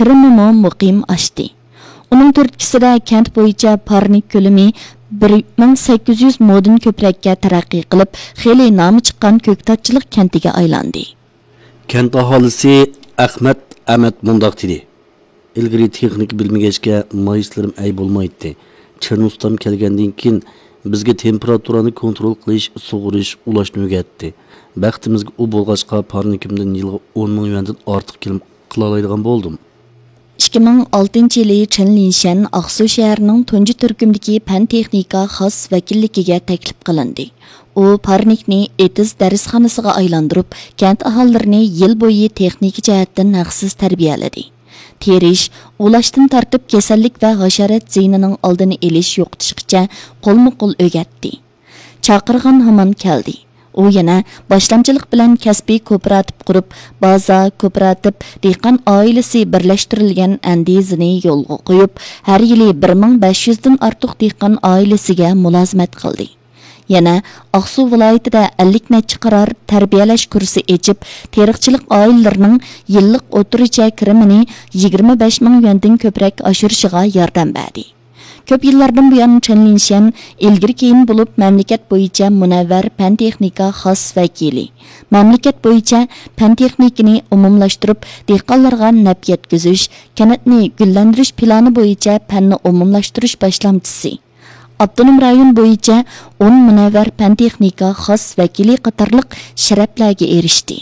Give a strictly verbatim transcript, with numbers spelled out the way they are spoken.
كىرىمىمۇ مۇقىم ئاشتى. ئۇنىڭ تۈرتكىسىدە كەنت بويىچە پارنىك كۆلىمى بىر مىڭ سەككىز يۈز مودىن كۆپرەككە تەرەققىي قىلىپ، خېلى نامى چىققان كۆكتاتچىلىق كەنتىگە ئايلاندى. كەنت ئاھالىسى ئەخمەت ئەمەت مۇنداق دېدى: «ئىلگىرى تېخنىكا بىلمىگەچكە، مايسىلىرىم ئەي بولمايتتى. چىرنى ئۇستام كەلگەندىن كېيىن، بىزگە تېمپېراتۇرانى كونترول قىلىش، سۇغىرىش، ئۇلاشنى ئۆگەتتى. بەختىمىزگە ئۇ بولغاچقا، پارنىكىمدىن يىلغا ئون مىڭ يۈەندىن ئارتۇق كىرىم قىلالايدىغان بولدۇم.» ئىككى مىڭ ئالتىنچى يىلى چېن لىنشەن ئاقسۇ شەھىرىنىڭ تۇنجى تۈركۈمدىكى پەن تېخنىكا خاس ۋەكىللىكىگە تەكلىپ قىلىندى. ئۇ پارنىكنى ئېتىز دەرسخانىسىغا ئايلاندۇرۇپ، كەنت ئاھالىلىرىنى يىل بويى تېخنىكا جەھەتتىن ھەقسىز تەربىيەلىدى. تېرىش، ئۇلاشتىن تارتىپ كېسەللىك ۋە ھاشارات زىيىنىنىڭ ئالدىنى ئېلىش، يوقىتىشقىچە قولمۇ قول ئۆگەتتى. چاقىرغان ھامان كەلدى. ئۇ يەنە باشلامچىلىق بىلەن كەسپىي كوپىراتىپ قۇرۇپ، بازا، كوپىراتىپ، دېھقان ئائىلىسى بىرلەشتۈرۈلگەن ئەندىزىنى يولغا قويۇپ، ھەر يىلى بىر مىڭ بەش يۈزدىن ئارتۇق دېھقان ئائىلىسىگە مۇلازىمەت قىلدى. يەنە ئاقسۇ ۋىلايىتىدە ئەللىك نەچچە قارار تەربىيەلەش كۇرسى ئېچىپ، تېرىقچىلىق ئائىلىلىرىنىڭ يىللىق ئوتتۇرىچە كىرىمىنى يىگىرمە بەش مىڭ يۈەندىن كۆپرەك ئاشۇرۇشىغا ياردەم بەردى. كۆپ يىللاردىن بۇيان چېن لىنشەن ئىلگىرى كېيىن بولۇپ مەملىكەت بويىچە مۇنەۋۋەر پەن تېخنىكا خاس ۋەكىلى، مەملىكەت بويىچە پەن تېخنىكىنى ئومۇملاشتۇرۇپ، دېھقانلارغا نەپ يەتكۈزۈش، كەنتنى گۈللەندۈرۈش پىلانى بويىچە پەننى ئومۇملاشتۇرۇش باشلامچىسى، ئاپتونوم رايون بويىچە ئون مۇنەۋۋەر پەن تېخنىكا خاس ۋەكىلى قاتارلىق شەرەپلەرگە ئېرىشتى.